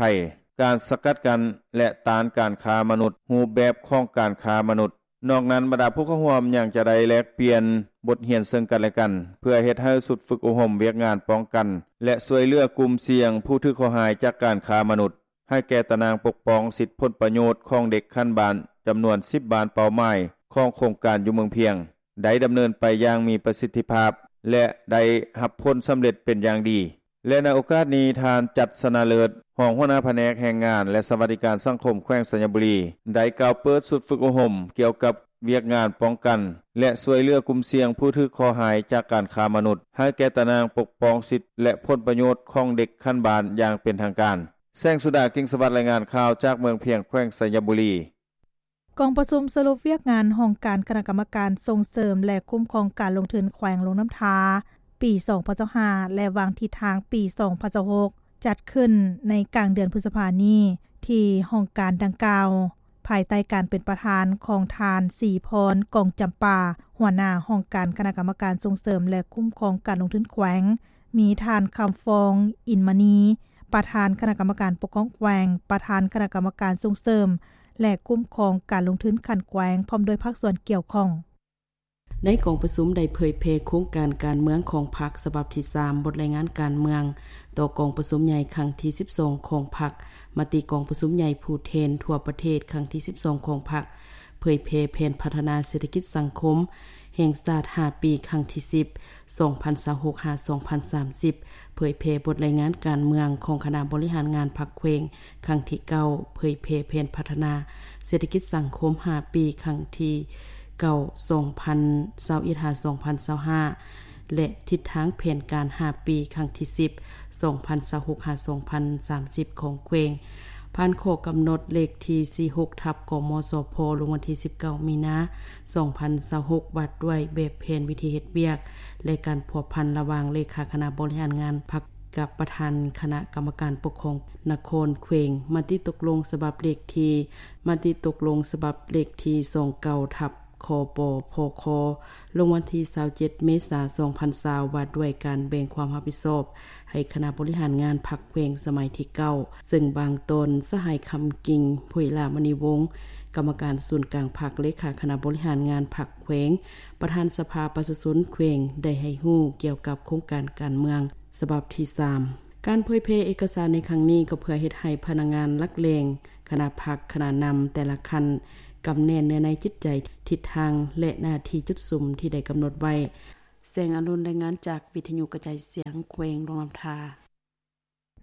ການສະກັດກັ້ນ ແລະ ຕ້ານການຄ້າມະນຸດ, ຮູບແບບຂອງການຄ້າມະນຸດ. ນອກນັ້ນ, ບັນດາຜູ້ເຂົ້າຮ່ວມຍັງຈະໄດ້ແລກປ່ຽນບົດຮຽນເຊິ່ງກັນ ແລະ ກັນ, ເພື່ອເຮັດໃຫ້ຊຸດຝຶກອົບຮົມວຽກງານປ້ອງກັນ ແລະ ຊ່ວຍເຫຼືອກຸ່ມສ່ຽງຜູ້ຖືກເຄາະຮ້າຍຈາກການຄ້າມະນຸດ ໃຫ້ແກ່ຕາໜ່າງປົກປ້ອງສິດຜົນປະໂຫຍດຂອງເດັກຂັ້ນບ້ານ ຈຳນວນສິບບ້ານເປົ້າໝາຍຂອງໂຄງການຢູ່ເມືອງພຽງ ໄດ້ດຳເນີນໄປຢ່າງມີປະສິດທິພາບ ແລະ ໄດ້ຮັບຜົນສຳເລັດເປັນຢ່າງດີ. ແລະ ໃນໂອກາດນີ້, ທ່ານ ຈັດ ຊະນະເລີດ ຮອງຫົວໜ້າພະແນກແຮງງານ ແລະ ສະຫວັດດີການສັງຄົມແຂວງໄຊຍະບູລີ ໄດ້ກ່າວເປີດຊຸດຝຶກອົບຮົມກ່ຽວກັບວຽກງານປ້ອງກັນ ແລະ ຊ່ວຍເຫຼືອກຸ່ມສ່ຽງຜູ້ຖືກເຄາະຮ້າຍຈາກການຄ້າມະນຸດ ໃຫ້ແກ່ຕາໜ່າງປົກປ້ອງສິດ ແລະ ຜົນປະໂຫຍດຂອງເດັກຂັ້ນບ້ານຢ່າງເປັນທາງການ. ແສງສຸດາ ກິ່ງສະຫວັດ ລາຍງານຂ່າວຈາກເມືອງພຽງ ແຂວງໄຊຍະບູລີ. ກອງປະຊຸມສະຫຼຸບວຽກງານຫ້ອງການຄະນະກຳມະການສົ່ງເສີມ ແລະ ຄຸ້ມຄອງການລົງທຶນແຂວງຫຼວງນ້ຳທາ ປີສອງພັນຊາວຫ້າ ແລະ ວາງທິດທາງປີສອງພັນຊາວຫົກ ຈັດຂຶ້ນໃນກາງເດືອນພຶດສະພານີ້ ທີ່ຫ້ອງການດັ່ງກ່າວ ພາຍໃຕ້ການເປັນປະທານຂອງທ່ານ ສີພອນ ກອງຈຳປາ ຫົວໜ້າຫ້ອງການຄະນະກຳມະການສົ່ງເສີມ ແລະ ຄຸ້ມຄອງການລົງທຶນແຂວງ, ມີທ່ານ ຄຳຟອງ ອິນມະນີ ປະທານຄະນະກຳມະການປົກຄອງແຂວງ, ປະທານຄະນະກຳມະການສົ່ງເສີມ ແລະ ຄຸ້ມຄອງການລົງທຶນຂັ້ນແຂວງ ພ້ອມດ້ວຍພາກສ່ວນກ່ຽວຂ້ອງ. ໃນກອງປະຊຸມໄດ້ເຜີຍແຜ່ໂຄງການການເມືອງຂອງພັກສະບັບທີສາມ, ບົດລາຍງານການເມືອງຕໍ່ກອງປະຊຸມໃຫຍ່ຄັ້ງທີສິບສອງຂອງພັກ, ມະຕິກອງປະຊຸມໃຫຍ່ຜູ້ແທນທົ່ວປະເທດຄັ້ງທີສິບສອງຂອງພັກ, ເຜີຍແຜ່ແຜນພັດທະນາເສດຖະກິດສັງຄົມແຫ່ງຊາດຫ້າປີ ຄັ້ງທີສິບ ສອງພັນຊາວຫົກ ຫາ ສອງພັນສາມສິບ, ເຜີຍແຜ່ບົດລາຍງານການເມືອງຂອງຄະນະບໍລິຫານງານພັກແຂວງຄັ້ງທີເກົ້າ, ເຜີຍແຜ່ແຜນພັດທະນາເສດຖະກິດສັງຄົມຫ້າປີ ຄັ້ງທີ ເກົ້າ ສອງພັນຊາວເອັດ ຫາ ສອງພັນຊາວຫ້າ ແລະ ທິດທາງແຜນການຫ້າປີ ຄັ້ງທີສິບ ສອງພັນຊາວຫົກ ຫາ ສອງພັນສາມສິບ ຂອງແຂວງ. ຜ່ານຂໍ້ກຳນົດເລກທີສີ່ສິບຫົກ ທັບ ກມສພ ລົງວັນທີສິບເກົ້າ ມີນາ ສອງພັນຊາວຫົກ ວ່າດ້ວຍແບບແຜນວິທີເຮັດວຽກ ແລະ ການພົວພັນລະຫວ່າງເລຂາຄະນະບໍລິຫານງານພັກ ກັບປະທານຄະນະກຳມະການປົກຄອງນະຄອນແຂວງ. ມະຕິຕົກລົງສະບັບເລກທີ ມະຕິຕົກລົງສະບັບເລກທີສອງເກົ້າ ທັບ ຄປພຄ ລົງວັນທີຊາວເຈັດ ເມສາ ສອງພັນຊາວ ວ່າດ້ວຍການແບ່ງຄວາມຮັບຜິດຊອບໃຫ້ຄະນະບໍລິຫານງານພັກແຂວງສະໄໝທີເກົ້າ ເຊິ່ງບາງຕອນ ສະຫາຍ ຄຳກິ່ງ ຜຸຍລາມະນີວົງ ກຳມະການສູນກາງພັກ ເລຂາຄະນະບໍລິຫານງານພັກແຂວງ ປະທານສະພາປະຊາຊົນແຂວງ ໄດ້ໃຫ້ຮູ້ກ່ຽວກັບໂຄງການການເມືອງສະບັບທີສາມ. ການເຜີຍແຜ່ເອກະສານໃນຄັ້ງນີ້ ກໍເພື່ອເຮັດໃຫ້ພະນັກງານຫຼັກແຫຼ່ງ ຄະນະພັກ ຄະນະນຳແຕ່ລະຂັ້ນ ກຳແໜ້ເນື້ອໃນຈິດໃຈ, ທິດທາງ ແລະ ໜ້າທີ່ຈຸດສຸມທີ່ໄດ້ກຳນົດໄວ້. ແສງອາລຸນ ລາຍງານຈາກວິທະຍຸກະຈາຍສຽງແຂວງຫຼວງນ້ຳທາ.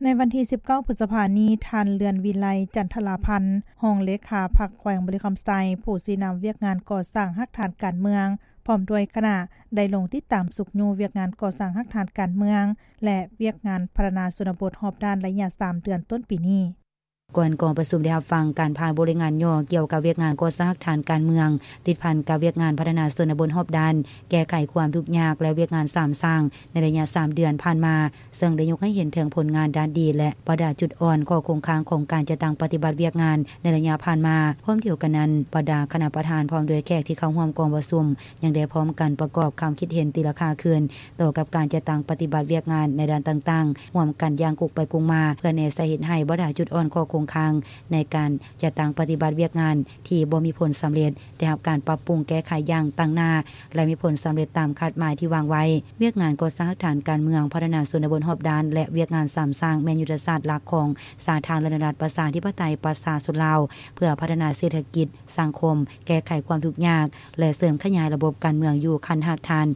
ໃນວັນທີສິບເກົ້າ ພຶດສະພານີ້, ທ່ານ ເລື່ອນວິໄລ ຈັນທະລາພັນ ຮອງເລຂາພັກແຂວງບໍລິຄຳໄຊ, ຜູ້ຊີ້ນຳວຽກງານກໍ່ສ້າງຮາກຖານການເມືອງ ພ້ອມດ້ວຍຄະນະ ໄດ້ລົງຕິດຕາມຊຸກຍູ້ວຽກງານກໍ່ສ້າງຮາກຖານການເມືອງ ແລະ ວຽກງານພັດທະນາຊົນນະບົດຮອບດ້ານໄລຍະສາມເດືອນຕົ້ນປີນີ້. ກ່ອນກອງປະຊຸມໄດ້ຮັບຟັງການຜ່ານບົດລາຍງານຫຍໍ້ກ່ຽວກັບວຽກງານກໍ່ສ້າງຮາກຖານການເມືອງ ຕິດພັນກັບວຽກງານພັດທະນາຊົນນະບົດຮອບດ້ານ, ແກ້ໄຂຄວາມທຸກຍາກ ແລະ ວຽກງານສາມສ້າງ ໃນໄລຍະສາມເດືອນຜ່ານມາ, ເຊິ່ງໄດ້ຍົກໃຫ້ເຫັນເຖິງຜົນງານດ້ານດີ ແລະ ບັນດາຈຸດອ່ອນ, ຂໍ້ຄົງຄ້າງຂອງການຈັດຕັ້ງປະຕິບັດວຽກງານໃນໄລຍະຜ່ານມາ. ພ້ອມດຽວກັນນັ້ນ, ບັນດາຄະນະປະທານ ພ້ອມດ້ວຍແຂກທີ່ເຂົ້າຮ່ວມກອງປະຊຸມ ຍັງໄດ້ພ້ອມກັນປະກອບຄຳຄິດເຫັນຕີລາຄາຄືນ ຕໍ່ກັບການຈັດຕັ້ງປະຕິບັດວຽກງານໃນດ້ານຕ່າງໆ ຮ່ວມກັນຢ່າງກົງໄປກົງມາ ເພື່ອແນໃສ່ເຮັດໃຫ້ບັນດາຈຸດອ່ອນ, ຂໍ້ຄົງຄ້າງໃນການຈັດຕັ້ງປະຕິບັດວຽກງານທີ່ບໍ່ມີຜົນສຳເລັດ ໄດ້ຮັບການປັບປຸງແກ້ໄຂຢ່າງຕັ້ງໜ້າ ແລະ ມີຜົນສຳເລັດຕາມຄາດໝາຍທີ່ວາງໄວ້. ວຽກງານກໍ່ສ້າງຮາກຖານການເມືອງ, ພັດທະນາຊົນນະບົດຮອບດ້ານ ແລະ ວຽກງານສາມສ້າງ ແມ່ນຍຸດທະສາດຫຼັກຂອງສາທາລະນະລັດປະຊາທິປະໄຕປະຊາຊົນລາວ ເພື່ອພັດທະນາເສດຖະກິດ, ສັງຄົມ, ແກ້ໄຂຄວາມທຸກຍາກ ແລະ ເສີມຂະຫຍາຍລະບົບການເມືອງຢູ່ຂັ້ນຮາກຖານ.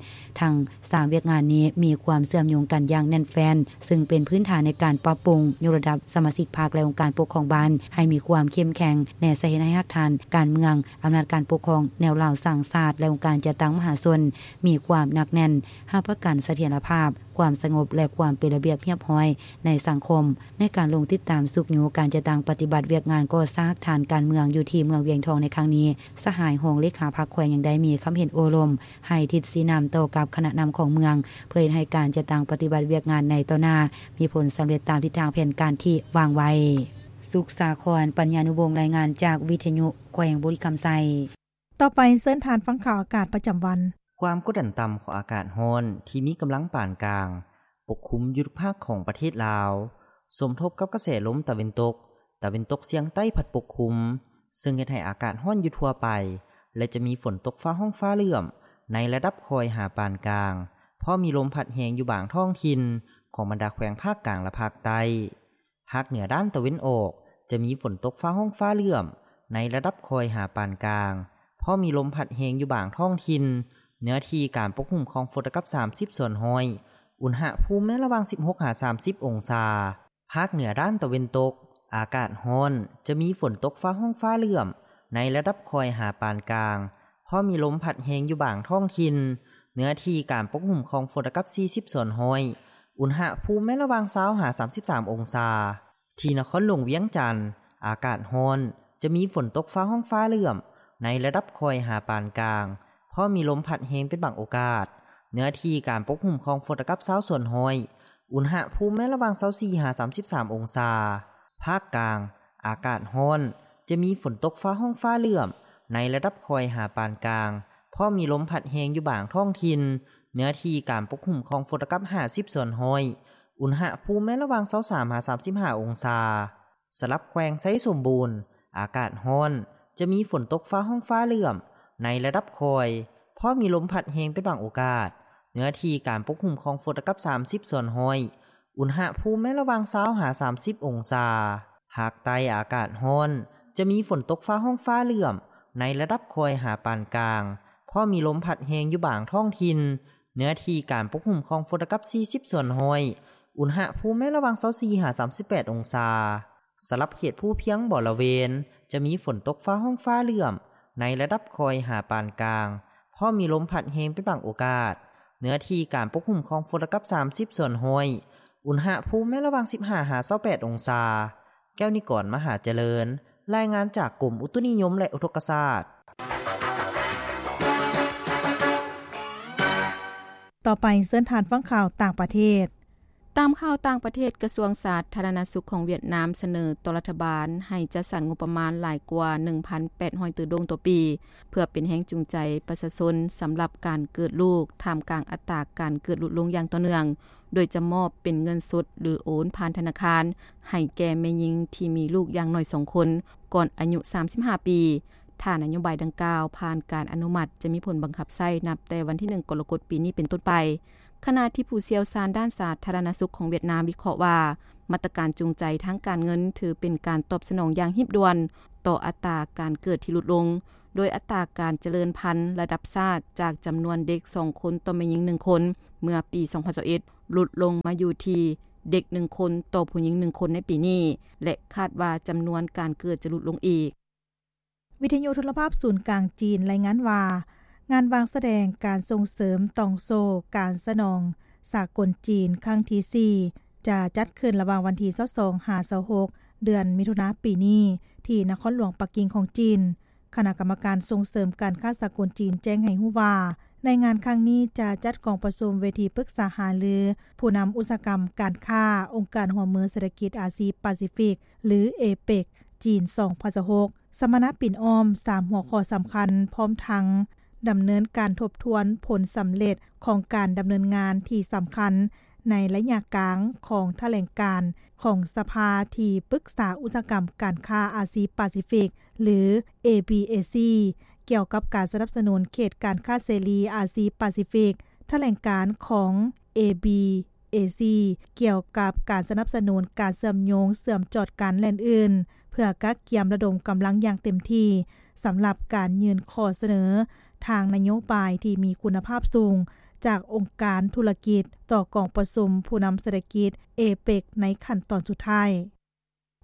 ທັງສາມວຽກງານນີ້ມີຄວາມເຊື່ອມໂຍງກັນຢ່າງແໜ້ນແຟ້ນ, ເຊິ່ງເປັນພື້ນຖານໃນການປັບປຸງ, ຍົກລະດັບສະມາຊິກພັກ ແລະ ອົງການປົກຄອງບ້ານໃຫ້ມີຄວາມເຂັ້ມແຂງ, ແນໃສ່ເຮັດໃຫ້ຮາກຖານການເມືອງ, ອຳນາດການປົກຄອງແນວລາວສ້າງຊາດ ແລະ ອົງການຈັດຕັ້ງມະຫາຊົນມີຄວາມໜັກແໜ້ນ, ຮັບປະກັນສະຖຽນລະພາບ, ຄວາມສະຫງົບ ແລະ ຄວາມເປັນລະບຽບຮຽບຮ້ອຍໃນສັງຄົມ. ໃນການລົງຕິດຕາມຊຸກຍູ້ການຈັດຕັ້ງປະຕິບັດວຽກງານກໍ່ສ້າງຮາກຖານການເມືອງຢູ່ທີ່ເມືອງວຽງທອງໃນຄັ້ງນີ້, ສະຫາຍຮອງເລຂາພັກແຂວງຍັງໄດ້ມີຄຳເຫັນໂອ້ລົມ ໃຫ້ທິດຊີ້ນຳຕໍ່ກັບຄະນະນຳຂອງເມືອງ ເພື່ອເຮັດໃຫ້ການຈັດຕັ້ງປະຕິບັດວຽກງານໃນຕໍ່ໜ້າມີຜົນສຳເລັດຕາມທິດທາງແຜນການທີ່ວາງໄວ້. ສຸກສາຄອນ ປັນຍານຸວົງ ລາຍງານຈາກວິທະຍຸແຂວງບໍລິຄຳໄຊ. ຕໍ່ໄປເຊີນທ່ານຟັງຂ່າວອາກາດປະຈຳວັນ. ຄວາມກົດດັນຕ່ຳຂອງອາກາດຮ້ອນທີ່ມີກຳລັງປານກາງປົກຄຸມຢູ່ທຸກພາກຂອງປະເທດລາວ, ສົມທົບກັບກະແສລົມຕາເວັນຕົກ, ຕາເວັນຕົກສຽງໃຕ້ພັດປົກຄຸມ, ເຊິ່ງເຮັດໃຫ້ອາກາດຮ້ອນຢູ່ທົ່ວໄປ ແລະ ຈະມີຝົນຕົກຟ້າຮ້ອງຟ້າເຫຼື້ອມໃນລະດັບຄ່ອຍຫາປານກາງ, ພ້ອມມີລົມພັດແຮງຢູ່ບາງທ້ອງຖິ່ນຂອງບັນດາແຂວງພາກກາງ ແລະ ພາກໃຕ້. ພາກເໜືອດ້ານຕາເວັນອອກ ຈະມີຝົນຕົກຟ້າຮ້ອງຟ້າເຫຼື້ອມໃນລະດັບຄ່ອຍຫາປານກາງ, ພ້ອມມີລົມພັດແຮງຢູ່ບາງທ້ອງຖິ່ນ, ເນື້ອທີ່ການປົກຄຸມຂອງຝົນລະດັບສາມສິບສ່ວນຮ້ອຍ, ອຸນຫະພູມແມ່ນລະຫວ່າງສິບຫົກຫາສາມສິບອົງສາ. ພາກເໜືອດ້ານຕາເວັນຕົກ ອາກາດຮ້ອນ, ຈະມີຝົນຕົກຟ້າຮ້ອງຟ້າເຫຼື້ອມໃນລະດັບຄ່ອຍຫາປານກາງ, ພ້ອມມີລົມພັດແຮງຢູ່ບາງທ້ອງຖິ່ນ, ເນື້ອທີ່ການປົກຄຸມຂອງຝົນລະດັບສີ່ສິບສ່ວນຮ້ອຍ, ອຸນຫະພູມແມ່ນລະຫວ່າງຊາວຫາສາມສິບສາມອົງສາ. ທີ່ນະຄອນຫຼວງວຽງຈັນ ອາກາດຮ້ອນ, ຈະມີຝົນຕົກຟ້າຮ້ອງຟ້າເຫຼື້ອມໃນລະດັບຄ່ອຍຫາປານກາງ, ພ້ອມມີລົມພັດແຮງເປັນບາງໂອກາດ, ເນື້ອທີ່ການປົກຄຸມຂອງຝົນລະດັບຊາວສ່ວນຮ້ອຍ, ອຸນຫະພູມແມ່ນລະຫວ່າງຊາວສີ່ຫາສາມສິບສາມອົງສາ. ພາກກາງ ອາກາດຮ້ອນ, ຈະມີຝົນຕົກຟ້າຮ້ອງຟ້າເຫຼື້ອມໃນລະດັບຄ່ອຍຫາປານກາງ, ພ້ອມມີລົມພັດແຮງຢູ່ບາງທ້ອງຖິ່ນ, ເນື້ອທີ່ການປົກຄຸມຂອງຝົນລະດັບຫ້າສິບສ່ວນຮ້ອຍ, ອຸນຫະພູມແມ່ນລະຫວ່າງຊາວສາມຫາສາມສິບຫ້າອົງສາ. ສຳລັບແຂວງໄຊສົມບູນ ອາກາດຮ້ອນ, ຈະມີຝົນຕົກຟ້າຮ້ອງຟ້າເຫຼື້ອມໃນລະດັບຄ່ອຍ, ພ້ອມມີລົມພັດແຮງເປັນບາງໂອກາດ, ເນື້ອທີ່ການປົກຄຸມຂອງຝົນລະດັບສາມສິບສ່ວນຮ້ອຍ, ອຸນຫະພູມແມ່ນລະຫວ່າງຊາວຫາສາມສິບອົງສາ. ພາກໃຕ້ ອາກາດຮ້ອນ, ຈະມີຝົນຕົກຟ້າຮ້ອງຟ້າເຫຼື້ອມໃນລະດັບຄ່ອຍຫາປານກາງ, ພ້ອມມີລົມພັດແຮງຢູ່ບາງທ້ອງຖິ່ນ, ເນື້ອທີ່ການປົກຄຸມຂອງຝົນລະດັບສີ່ສິບສ່ວນຮ້ອຍ, ອຸນຫະພູມແມ່ນລະຫວ່າງຊາວສີ່ຫາສາມສິບແປດອົງສາ. ສຳລັບເຂດພູພຽງບໍລະເວນ ຈະມີຝົນຕົກຟ້າຮ້ອງຟ້າເຫຼື້ອມ ໃນລະດັບຄ່ອຍຫາປານກາງ, ພ້ອມມີລົມພັດແຮງເປັນບາງໂອກາດ. ເນື້ອທີ່ການປົກຄຸມຂອງຝົນລະກັບສາມສິບສ່ວນຮ້ອຍ. ອຸນຫະພູມແມ່ນລະຫວ່າງສິບຫ້າຫາຊາວແປດອົງສາ. ແກ້ວນິກອນ ມະຫາຈະເລີນ, ລາຍງານຈາກກົມອຸຕຸນິຍົມ ແລະ ອຸທົກກະສາດ. ຕໍ່ໄປເຊີນທ່ານຟັງຂ່າວຕ່າງປະເທດ. ຕາມຂ່າວຕ່າງປະເທດ, ກະຊວງສາທາລະນະສຸກຂອງຫວຽດນາມສະເໜີຕໍ່ລັດຖະບານໃຫ້ຈັດສັນງົບປະມານຫຼາຍກວ່າໜຶ່ງພັນແປດຮ້ອຍຕື້ໂດງຕໍ່ປີ ເພື່ອເປັນແຮງຈູງໃຈປະຊາຊົນສຳລັບການເກີດລູກ ທ່າມກາງອັດຕາການເກີດຫຼຸດລົງຢ່າງຕໍ່ເນື່ອງ, ໂດຍຈະມອບເປັນເງິນສົດ ຫຼື ໂອນຜ່ານທະນາຄານໃຫ້ແກ່ແມ່ຍິງທີ່ມີລູກຢ່າງໜ້ອຍສອງຄົນ ກ່ອນອາຍຸສາມສິບຫ້າປີ. ຖ້ານະໂຍບາຍດັ່ງກ່າວຜ່ານການອະນຸມັດ ຈະມີຜົນບັງຄັບໃຊ້ນັບແຕ່ວັນທີໜຶ່ງ ກໍລະກົດ ປີນີ້ເປັນຕົ້ນໄປ. ຂະນະທີ່ຜູ້ຊ່ຽວຊານດ້ານສາທາລະນະສຸກຂອງຫວຽດນາມວິເຄາະວ່າ ມາດຕະການຈູງໃຈທາງການເງິນຖືເປັນການຕອບສະໜອງຢ່າງຮີບດ່ວນຕໍ່ອັດຕາການເກີດທີ່ຫຼຸດລົງ, ໂດຍອັດຕາການຈະເລີນພັນລະດັບຊາດຈາກຈຳນວນເດັກສອງຄົນຕໍ່ແມ່ຍິງໜຶ່ງຄົນ ເມື່ອປີສອງພັນຊາວເອັດ ຫຼຸດລົງມາຢູ່ທີ່ເດັກໜຶ່ງຄົນຕໍ່ຜູ້ຍິງໜຶ່ງຄົນໃນປີນີ້ ແລະ ຄາດວ່າຈຳນວນການເກີດຈະຫຼຸດລົງອີກ. ວິທະຍຸໂທລະພາບສູນກາງຈີນລາຍງານວ່າ ງານວາງສະແດງການສົ່ງເສີມຕ່ອງໂສ້ການສະໜອງສາກົນຈີນຄັ້ງທີສີ່ ຈະຈັດຂຶ້ນລະຫວ່າງວັນທີຊາວສອງຫາຊາວຫົກ ເດືອນມິຖຸນາປີນີ້ ທີ່ນະຄອນຫຼວງປັກກິ່ງຂອງຈີນ. ຄະນະກຳມະການສົ່ງເສີມການຄ້າສາກົນຈີນແຈ້ງໃຫ້ຮູ້ວ່າ ໃນງານຄັ້ງນີ້ຈະຈັດກອງປະຊຸມເວທີປຶກສາຫາລືຜູ້ນຳອຸດສາຫະກຳການຄ້າ ອົງການຮ່ວມມືເສດຖະກິດອາຊີປາຊີຟິກ ຫຼື ເອເປັກ ຈີນ ສອງພັນຊາວຫົກ ສຳມະນາປິ່ນອ້ອມສາມຫົວຂໍ້ສຳຄັນ ພ້ອມທັງດຳເນີນການທົບທວນຜົນສຳເລັດຂອງການດຳເນີນງານທີ່ສຳຄັນໃນໄລຍະກາງຂອງຖະແຫຼງການຂອງສະພາທີ່ປຶກສາອຸດສາຫະກຳການຄ້າອາຊີປາຊີຟິກ ຫຼື ເອບີເອຊີ ກ່ຽວກັບການສະໜັບສະໜູນເຂດການຄ້າເສລີອາຊີປາຊີຟິກ, ຖະແຫຼງການຂອງ ເອບີເອຊີ ກ່ຽວກັບການສະໜັບສະໜູນການເຊື່ອມໂຍງເຊື່ອມຈອດກັນ ແລະ ອື່ນໆ ເພື່ອກະກຽມລະດົມກຳລັງຢ່າງເຕັມທີ່ ສຳລັບການຍື່ນຂໍ້ສະເໜີທາງນະໂຍບາຍທີ່ມີຄຸນນະພາບສູງ ຈາກອົງການທຸລະກິດຕໍ່ກອງປະຊຸມຜູ້ນຳເສດຖະກິດເອເປັກ ໃນຂັ້ນຕອນສຸດທ້າຍ.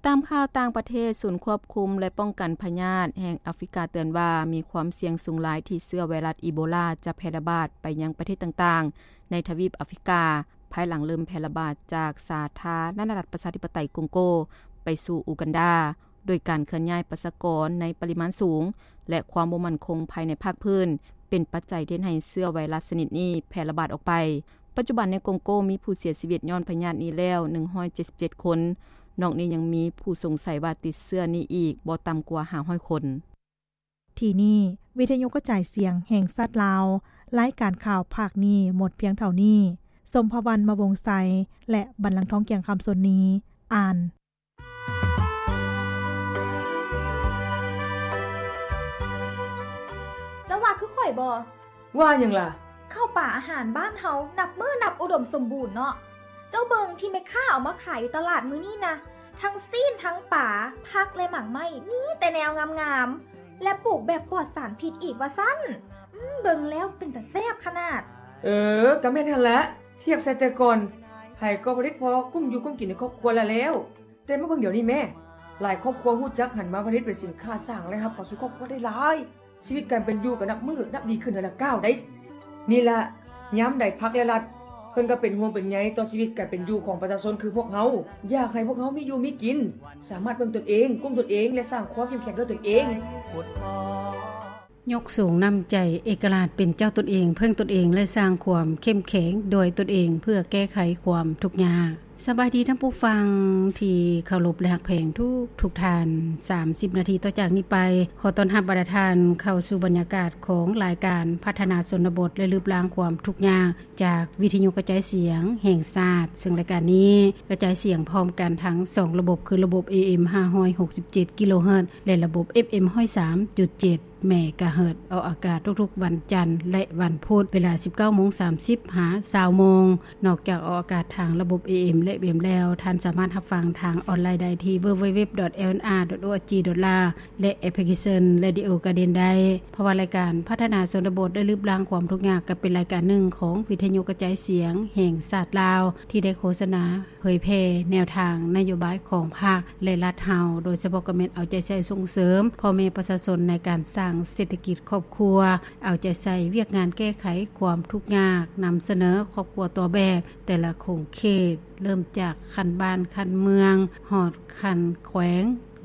ຕາມຂ່າວຕ່າງປະເທດ, ສູນຄວບຄຸມ ແລະ ປ້ອງກັນພະຍາດແຫ່ງອາຟຣິກາເຕືອນວ່າ ມີຄວາມສ່ຽງສູງຫຼາຍທີ່ເຊື້ອໄວຣັສອີໂບລາຈະແຜ່ລະບາດໄປຍັງປະເທດຕ່າງໆໃນທະວີບອາຟຣິກາ, ພາຍຫຼັງເລີ່ມແຜ່ລະບາດຈາກສາທາລະນະລັດປະຊາທິປະໄຕກົງໂກໄປສູ່ອູກັນດາ, ໂດຍການເຄື່ອນຍ້າຍປະຊາກອນໃນປະລິມານສູງ ແລະ ຄວາມບໍ່ໝັ້ນຄົງພາຍໃນພາກພື້ນ ເປັນປັດໄຈທີ່ເຮັດໃຫ້ເຊື້ອໄວຣັສຊະນິດນີ້ແຜ່ລະບາດອອກໄປ. ປັດຈຸບັນໃນກົງໂກມີຜູ້ເສຍຊີວິດຍ້ອນພະຍາດນີ້ແລ້ວໜຶ່ງຮ້ອຍເຈັດສິບເຈັດຄົນ, ນອກນີ້ຍັງມີຜູ້ສົງໄສວ່າຕິດເຊື້ອນີ້ອີກບໍ່ຕ່ຳກວ່າຫ້າຮ້ອຍຄົນ. ທີ່ນີ້ ວິທະຍຸກະຈາຍສຽງແຫ່ງຊາດລາວ, ລາຍການຂ່າວພາກນີ້ໝົດພຽງເທົ່ານີ້. ສົມພະວັນ ມະວົງໄຊ ແລະ ບັນລັງທອງ ກຽງຄຳ ສົນນີ ອ່ານ. ເຈົ້າວ່າຄືຂ້ອຍບໍ່? ວ່າຫຍັງລະ? ເຂົ້າປາອາຫານບ້ານເຮົານັບມື້ນັບອຸດົມສົມບູນເນາະ. ເຈົ້າເບິ່ງທີ່ແມ່ຄ້າເອົາມາຂາຍຢູ່ຕະຫຼາດມື້ນີ້ນະ, ທັງຊີ້ນ ທັງປາ, ຜັກ ແລະ ໝາກໄມ້, ມີແຕ່ແນວງາມໆ ແລະ ປູກແບບປອດສານພິດອີກວ່າຊັ້ນ. ອືມ, ເບິ່ງແລ້ວເປັນຕາແຊບຂະໜາດ. ເອີ, ກະແມ່ນຫັ້ນລະ. ທຽບໃສ່ແຕ່ກ່ອນ, ໃຜກໍຜະລິດພໍກຸ້ມຢູ່ກຸ້ມກິນໃນຄອບຄົວລະແລ້ວ. ແຕ່ມາເບິ່ງດຽວນີ້ແມ້, ຫຼາຍຄອບຄົວຮູ້ຈັກຫັນມາຜະລິດເປັນສິນຄ້າ, ສ້າງລາຍຮັບເຂົ້າສູ່ຄອບຄົວໄດ້ຫຼາຍ. ຊີວິດການເປັນຢູ່ກໍນັບມື້ນັບດີຂຶ້ນເທື່ອລະກ້າວໃດ໋. ນີ້ລະ, ຍາມໃດພັກ ແລະ ລັດ ເພິ່ນກໍເປັນຫ່ວງເປັນໃຍຕໍ່ຊີວິດການເປັນຢູ່ຂອງປະຊາຊົນຄືພວກເຮົາ, ຢາກໃຫ້ພວກເຮົາມີຢູ່ມີກິນ, ສາມາດເບິ່ງຕົນເອງ, ກຸ້ມຕົນເອງ ແລະ ສ້າງຄວາມເຂັ້ມແຂງດ້ວຍຕົນເອງ. ຍົກສູງນ້ຳໃຈເອກະລາດເປັນເຈົ້າຕົນເອງ, ເພິ່ງຕົນເອງ ແລະ ສ້າງຄວາມເຂັ້ມແຂງດ້ວຍຕົນເອງ ເພື່ອແກ້ໄຂຄວາມທຸກຍາກ. ສະບາຍດີທ່ານຜູ້ຟັງທີ່ເຄົາລົບ ແລະ ຮັກແພງທຸກໆທ່ານ. ສາມສິບນາທີຕໍ່ຈາກນີ້ໄປ, ຂໍຕ້ອນຮັບບັນດາທ່ານເຂົ້າສູ່ບັນຍາກາດຂອງລາຍການພັດທະນາຊົນນະບົດ ແລະ ລຶບລ້າງຄວາມທຸກຍາກ ຈາກວິທະຍຸກະຈາຍສຽງແຫ່ງຊາດ, ເຊິ່ງລາຍການນີ້ກະຈາຍສຽງພ້ອມກັນທັງສອງລະບົບ ຄືລະບົບ ເອເອັມ ຫ້າຮ້ອຍຫົກສິບເຈັດ ກິໂລເຮີດ ແລະ ລະບົບ ເອັບເອັມ ຮ້ອຍສາມຈຸດເຈັດ ເມກາເຮີດ, ອອກອາກາດທຸກໆວັນຈັນ ແລະ ວັນພຸດ, ເວລາ ສິບເກົ້າໂມງສາມສິບ ຫາ ຊາວໂມງ. ນອກຈາກອອກອາກາດທາງລະບົບ ເອເອັມ ແລ ແລະ ເວັບແລ້ວ ທ່ານສາມາດຮັບຟັງທາງອອນລາຍໄດ້ທີ່ www.lnr.org.la ແລະ ແອັບພລິເຄຊັນ Radio Garden ໄດ້. ເພາະວ່າລາຍການພັດທະນາຊົນນະບົດ ແລະ ລຶບລ້າງຄວາມທຸກຍາກ ກໍເປັນລາຍການໜຶ່ງຂອງວິທະຍຸກະຈາຍສຽງແຫ່ງຊາດລາວ ທີ່ໄດ້ໂຄສະນາເຜີຍແຜ່ແນວທາງນະໂຍບາຍຂອງພັກ ແລະ ລັດເຮົາ, ໂດຍສະເພາະກໍແມ່ນເອົາໃຈໃສ່ສົ່ງເສີມພໍ່ແມ່ປະຊາຊົນໃນການສ້າງເສດຖະກິດຄອບຄົວ, ເອົາໃຈໃສ່ວຽກງານແກ້ໄຂຄວາມທຸກຍາກ, ນຳສະເໜີຄອບຄົວຕົວແບບແຕ່ລະຂົງເຂດ, ເລີ່ມຈາກຂັ້ນບ້ານ, ຂັ້ນເມືອງ, ຮອດຂັ້ນແຂວງ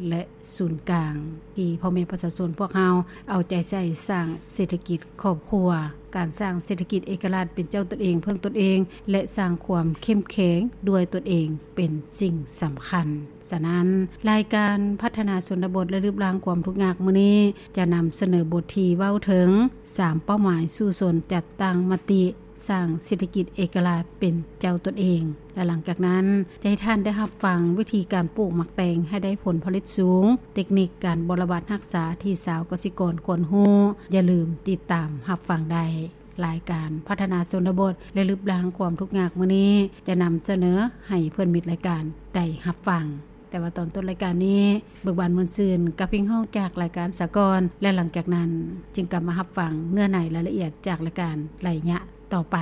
ແລະ ສູນກາງ ທີ່ພໍ່ແມ່ປະຊາຊົນພວກເຮົາເອົາໃຈໃສ່ສ້າງເສດຖະກິດຄອບຄົວ, ການສ້າງເສດຖະກິດເອກະລາດເປັນເຈົ້າຕົນເອງ, ເພິ່ງຕົນເອງ ແລະ ສ້າງຄວາມເຂັ້ມແຂງດ້ວຍຕົນເອງເປັນສິ່ງສຳຄັນ. ສະນັ້ນ, ລາຍການພັດທະນາຊົນນະບົດ ແລະ ລຶບລ້າງຄວາມທຸກຍາກມື້ນີ້ ຈະນຳສະເໜີບົດທີ່ເວົ້າເຖິງ ສາມເປົ້າໝາຍສູ້ຊົນ ຈັດຕັ້ງມະຕິ ສ້າງເສດຖະກິດເອກະລາດເປັນເຈົ້າຕົນເອງ ແລະ ຫຼັງຈາກນັ້ນ ຈະໃຫ້ທ່ານໄດ້ຮັບຟັງວິທີການປູກໝາກແຕງໃຫ້ໄດ້ຜົນຜະລິດສູງ, ເຕັກນິກການບໍລະບັດຮັກສາທີ່ຊາວກະສິກອນຄວນຮູ້. ຢ່າລືມຕິດຕາມຮັບຟັງໄດ້. ລາຍການພັດທະນາຊົນນະບົດ ແລະ ລຶບລ້າງຄວາມທຸກຍາກມື້ນີ້ ຈະນຳສະເໜີໃຫ້ເພື່ອນມິດລາຍການໄດ້ຮັບຟັງ. ແຕ່ວ່າຕອນຕົ້ນລາຍການນີ້ ເບີກບານມ່ວນຊື່ນກັບເພງຮ້ອງຈາກລາຍການສາກອນ ແລະ ຫຼັງຈາກນັ້ນຈຶ່ງກັບມາຮັບຟັງເນື້ອໃນລາຍລະອຽດຈາກລາຍການໄລຍະຕໍ່ໄປ.